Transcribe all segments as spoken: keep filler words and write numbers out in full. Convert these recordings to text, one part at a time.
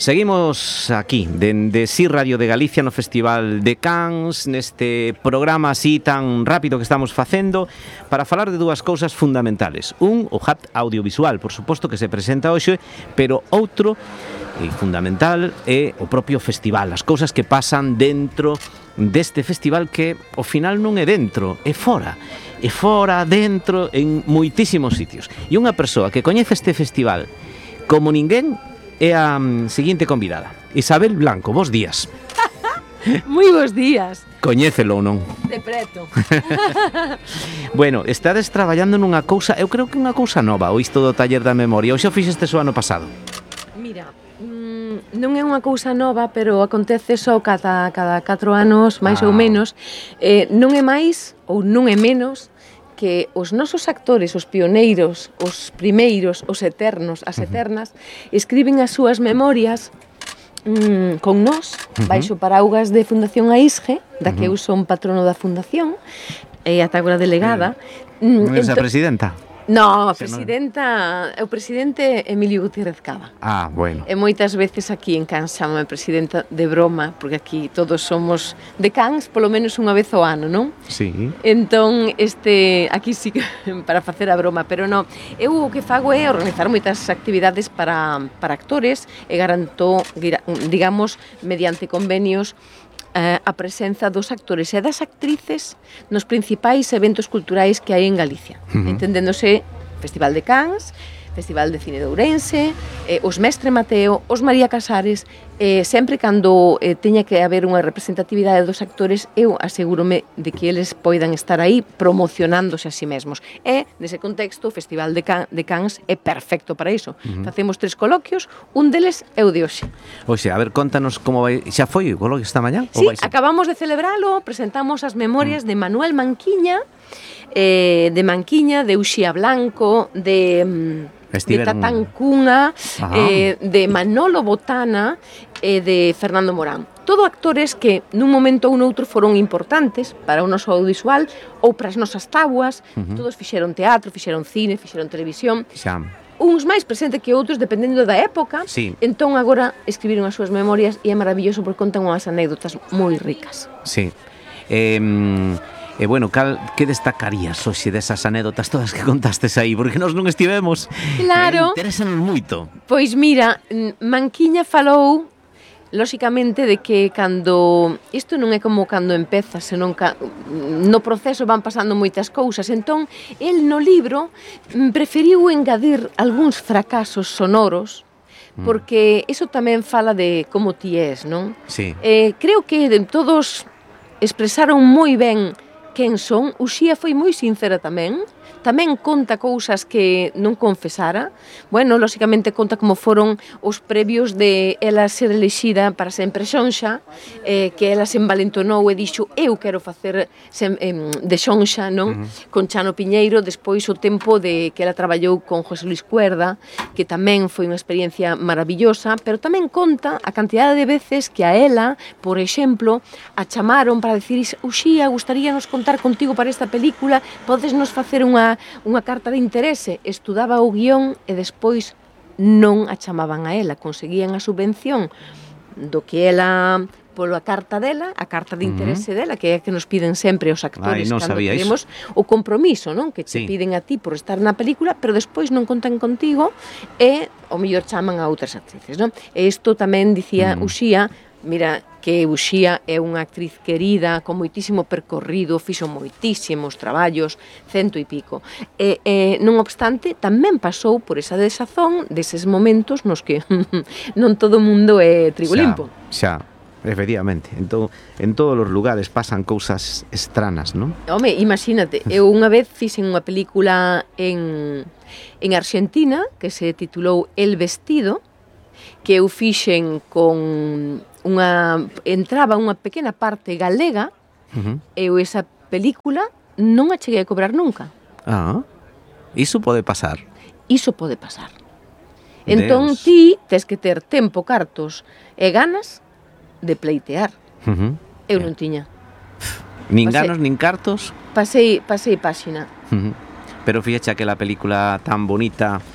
Seguimos aquí, dende Si Radio de Galicia no Festival de Cans, neste programa así tan rápido que estamos facendo, para falar de dúas cousas fundamentales. Un, o H A T audiovisual, por suposto, que se presenta hoxe, pero outro, e fundamental, é o propio festival, as cousas que pasan dentro deste festival que, ao final, non é dentro, é fora. É fora, dentro, en moitísimos sitios. E unha persoa que coñece este festival como ninguén é a um, seguinte convidada. Isabel Blanco, bos días. Moi bos días. Coñécelo ou non? De preto. Bueno, estades traballando nunha cousa, eu creo que unha cousa nova, o isto do taller da memoria, ou xa fixeste o ano pasado? Mira, mmm, non é unha cousa nova, pero acontece só cada, cada catro anos, máis ah. ou menos. Eh, non é máis ou non é menos que os nosos actores, os pioneiros, os primeiros, os eternos, as eternas, escriben as súas memorias mmm, con nós, baixo paraugas de Fundación AISGE, da que eu son patrono da Fundación, e ata agora delegada. Non é a presidenta? No, a presidenta, o presidente Emilio Gutiérrez Cava. Ah, bueno. E moitas veces aquí en Cans chamame presidenta de broma, porque aquí todos somos de Cans polo menos unha vez ao ano, non? Sí. Entón, este, aquí sí que para facer a broma, pero non. Eu o que fago é organizar moitas actividades para, para actores e garanto, digamos, mediante convenios, Uh, a presenza dos actores e das actrices nos principais eventos culturais que hai en Galicia. Uh-huh. Entendéndose Festival de Cans, Festival de Cine de Ourense, eh, os Mestre Mateo, os María Casares, eh, sempre cando eh, teña que haber unha representatividade dos actores, eu asegúrome de que eles poidan estar aí promocionándose a si mesmos. E, nese contexto, o Festival de, Can, de Cans é perfecto para iso. Uh-huh. Facemos tres coloquios, un deles é o de hoxe. Oxe, a ver, contanos como vai... Xa foi o coloquio esta mañá? Sí, acabamos de celebralo, presentamos as memorias uh-huh. de Manuel Manquiña, eh, de Manquiña, de Uxía Blanco, de... Estiveron... de Tatán Cunha, eh, de Manolo Botana e eh, de Fernando Morán. Todo actores que nun momento ou noutro foron importantes para o noso audiovisual ou para as nosas tábuas. Uh-huh. Todos fixeron teatro, fixeron cine, fixeron televisión. Xa. Uns máis presentes que outros, dependendo da época. Sí. Entón agora escribiron as súas memorias e é maravilloso porque contan unhas anécdotas moi ricas. Sí. Eh... E, bueno, cal, que destacarías hoxe desas anécdotas todas que contastes aí? Porque nós non estivemos. Claro. Interesanos moito. Pois mira, Manquiña falou, lóxicamente, de que cando... Isto non é como cando empeza, senón que no proceso van pasando moitas cousas. Entón, el no libro preferiu engadir algúns fracasos sonoros, porque iso tamén fala de como ti és, non? Sí. Eh, creo que todos expresaron moi ben quen son. Uxía foi moi sincera tamén, tamén conta cousas que non confesara. Bueno, lóxicamente conta como foron os previos de ela ser elexida para sempre xonxa, eh, que ela se envalentonou e dixo eu quero facer sem, eh, de xonxa, non? Uh-huh. Con Chano Piñeiro, despois o tempo de que ela traballou con José Luis Cuerda, que tamén foi unha experiencia maravillosa, pero tamén conta a cantidade de veces que a ela, por exemplo, a chamaron para decir Uxía, gustaríanos contar contigo para esta película, podes nos facer unha unha carta de interese. Estudaba o guión e despois non a chamaban a ela, conseguían a subvención do que ela, pola carta dela, a carta de interese uh-huh. dela, que é que nos piden sempre os actores. Ai, non cando sabía queremos iso. O compromiso, non? Que te sí. piden a ti por estar na película, pero despois non contan contigo e o mellor chaman a outras actrices, non? E isto tamén dicía uh-huh. Uxía, mira, que Uxía é unha actriz querida, con moitísimo percorrido, fixo moitísimos traballos, cento e pico. E, e, non obstante, tamén pasou por esa desazón deses momentos nos que non todo o mundo é trigo limpo. Xa, xa, efectivamente. En, to, en todos os lugares pasan cousas estranas, non? Home, imagínate, eu unha vez fixen unha película en, en Argentina que se titulou El Vestido, que eu fixen con unha... entraba unha pequena parte galega, uh-huh. e eu esa película non a cheguei a cobrar nunca. Ah, iso pode pasar. Iso pode pasar. Entón ti tes que ter tempo, cartos e ganas de pleitear. Uh-huh. Eu non tiña. Nin pasei, ganos, nin cartos? Pasei, pasei páxina. Uh-huh. Pero fíjate aquela película tan bonita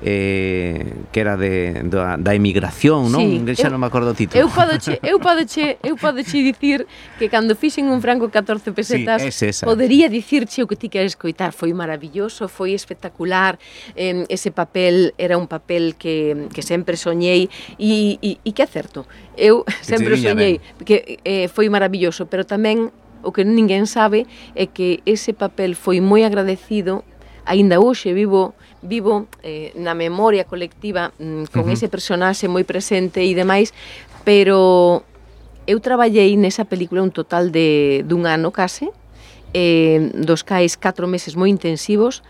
eh, que era de, da, da emigración, non? Sí, Xa eu, non me acordo o título. Eu podoche, eu podoche, eu podoche dicir que cando fixen un franco catorce pesetas, sí, podería dicirche o que ti queres escoitar. Foi maravilloso, foi espectacular, eh, ese papel era un papel que, que sempre soñei e, e, e que é certo. Eu sempre soñei que eh, foi maravilloso, pero tamén o que ninguén sabe é que ese papel foi moi agradecido, aínda hoxe vivo vivo eh, na memoria colectiva mm, con uh -huh. ese personaxe moi presente e demais, pero eu traballei nesa película un total de dun ano case, eh, dos cais catro meses moi intensivos,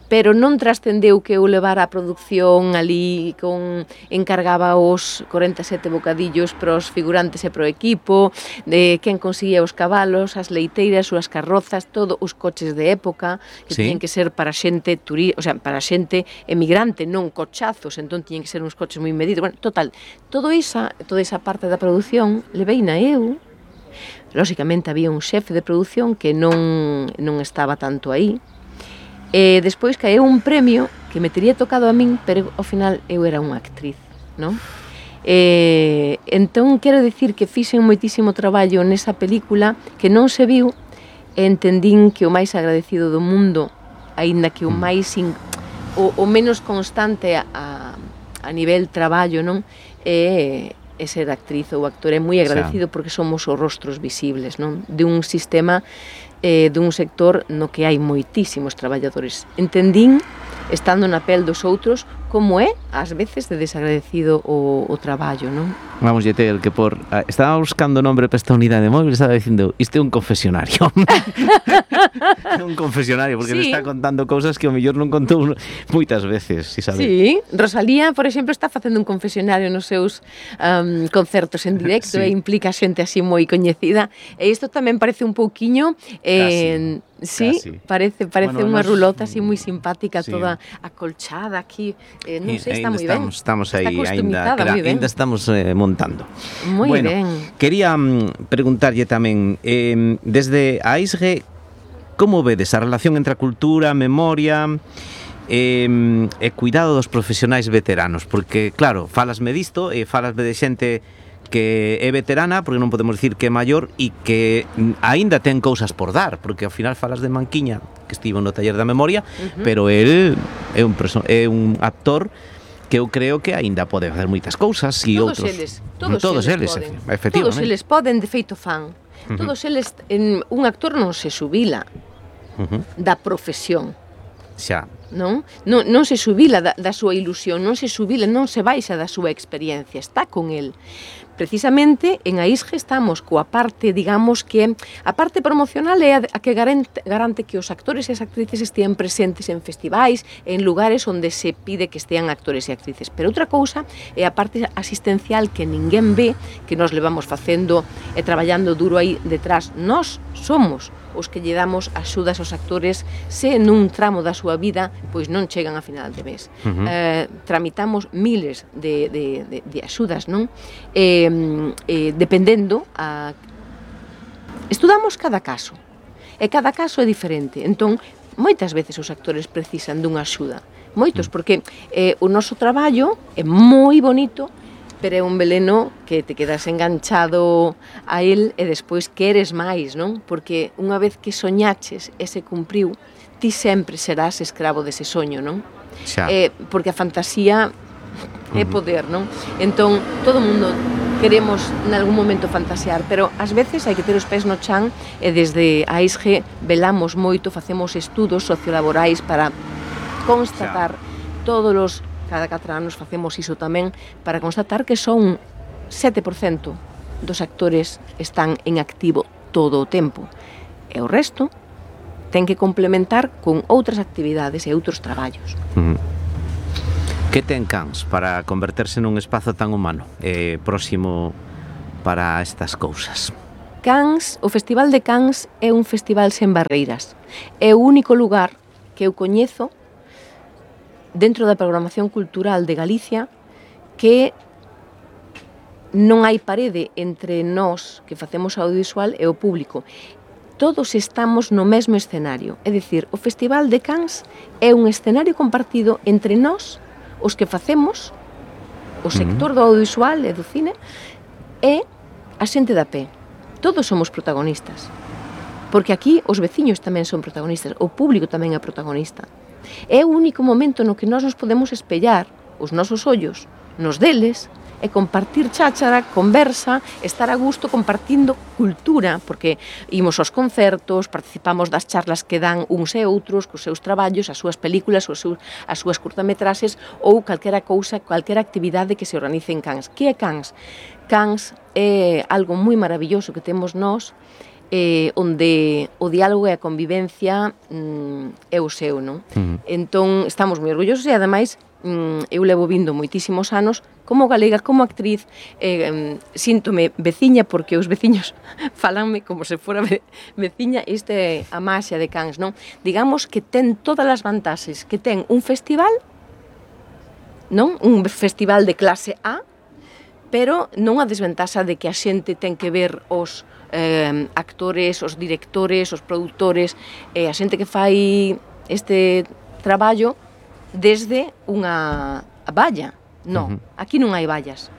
pero non trascendeu que eu levara a produción ali con encargaba os corenta e sete bocadillos para os figurantes e para o equipo, de quen conseguía os cabalos, as leiteiras, as carrozas, todo os coches de época que sí. tiñen que ser para xente turi, o sea, para xente emigrante, non cochazos, entón tiñen que ser uns coches moi medidos. Bueno, total, todo esa, toda esa parte da produción leveina eu. Lóxicamente había un xefe de produción que non non estaba tanto aí. E despois caeu un premio que me tería tocado a min, pero ao final eu era unha actriz, non? E, entón, quero dicir que fixen moitísimo traballo nesa película que non se viu e entendín que o máis agradecido do mundo, aínda que o máis in, o, o menos constante a, a nivel traballo, non? É, é ser actriz ou actor, é moi agradecido porque somos os rostros visibles, non? De un sistema eh, dun sector no que hai moitísimos traballadores. Entendín, estando na pel dos outros, como é, ás veces, de desagradecido o, o traballo, non? Vamos, Yetel, que por... Uh, estaba buscando nombre para esta unidade móvil, estaba dicindo, isto é un confesionario. É un confesionario, porque sí. le está contando cousas que o mellor non contou moitas veces, si sabe. Sí, Rosalía, por exemplo, está facendo un confesionario nos seus um, concertos en directo sí. e implica xente así moi coñecida. E isto tamén parece un pouquiño... Eh, sí, casi. parece parece bueno, unha nos... rulota así moi simpática, sí. toda acolchada aquí. Eh, non sei, está moi ben. Estamos aí, ainda, ainda estamos eh, montando. Moi bueno, ben. Quería um, preguntarlle tamén, eh, desde a I S G, como vedes a relación entre a cultura, a memoria e, e cuidado dos profesionais veteranos? Porque, claro, falasme disto e falasme de xente que é veterana, porque non podemos dicir que é maior e que aínda ten cousas por dar, porque ao final falas de Manquiña, que estivo no taller da memoria, uh-huh. pero el é un, é un actor que eu creo que aínda pode facer moitas cousas e todos outros. Eles, todos, todos eles, eles poden. efectivamente. Todos eles poden, de feito fan. Uh-huh. Todos eles, en, un actor non se xubila uh-huh. da profesión. Xa. Non? Non, non se xubila da, da súa ilusión, non se xubila, non se baixa da súa experiencia, está con el. Precisamente en a I S G estamos coa parte, digamos que a parte promocional é a que garante, garante que os actores e as actrices estean presentes en festivais, en lugares onde se pide que estean actores e actrices. Pero outra cousa é a parte asistencial que ninguén ve, que nos levamos facendo e traballando duro aí detrás. Nós somos os que lle damos axudas aos actores se nun tramo da súa vida pois non chegan a final de mes. Uh-huh. eh, tramitamos miles de, de, de, de axudas, non? Eh, eh, dependendo a... Estudamos cada caso e cada caso é diferente, entón moitas veces os actores precisan dunha axuda, moitos, porque eh, o noso traballo é moi bonito, pero é un veleno que te quedas enganchado a él e despois queres máis, non? Porque unha vez que soñaches e se cumpriu, ti sempre serás escravo dese soño, non? Xa. Eh, porque a fantasía é poder, non? Entón, todo o mundo queremos en algún momento fantasear, pero ás veces hai que ter os pés no chan e desde a I S G velamos moito, facemos estudos sociolaborais para constatar Xa. todos os cada catro anos facemos iso tamén para constatar que son sete por cento dos actores están en activo todo o tempo e o resto ten que complementar con outras actividades e outros traballos. Uh-huh. Que ten Cans para converterse nun espazo tan humano e próximo para estas cousas? Cans, o Festival de Cans é un festival sen barreiras. É o único lugar que eu coñezo dentro da programación cultural de Galicia que non hai parede entre nós que facemos audiovisual e o público. Todos estamos no mesmo escenario, é dicir, o Festival de Cans é un escenario compartido entre nós, os que facemos, o sector do audiovisual e do cine, e a xente da pé. Todos somos protagonistas. Porque aquí os veciños tamén son protagonistas, o público tamén é protagonista. É o único momento no que nós nos podemos espellar os nosos ollos nos deles e compartir cháchara, conversa, estar a gusto compartindo cultura, porque imos aos concertos, participamos das charlas que dan uns e outros cos seus traballos, as súas películas, os seus, as súas curtametraxes ou calquera cousa, calquera actividade que se organice en Cans. Que é Cans? Cans é algo moi maravilloso que temos nós, eh, onde o diálogo e a convivencia mm, é o seu, non? Uh-huh. Entón, estamos moi orgullosos e, ademais, mm, eu levo vindo moitísimos anos como galega, como actriz, eh, síntome veciña porque os veciños falanme como se fora ve, veciña. Isto é a maxia de Cans, non? Digamos que ten todas as vantaxes que ten un festival, non? Un festival de clase A, pero non a desventaxa de que a xente ten que ver os eh, actores, os directores, os produtores, eh, a xente que fai este traballo desde unha valla. Non, uh-huh. Aquí non hai vallas.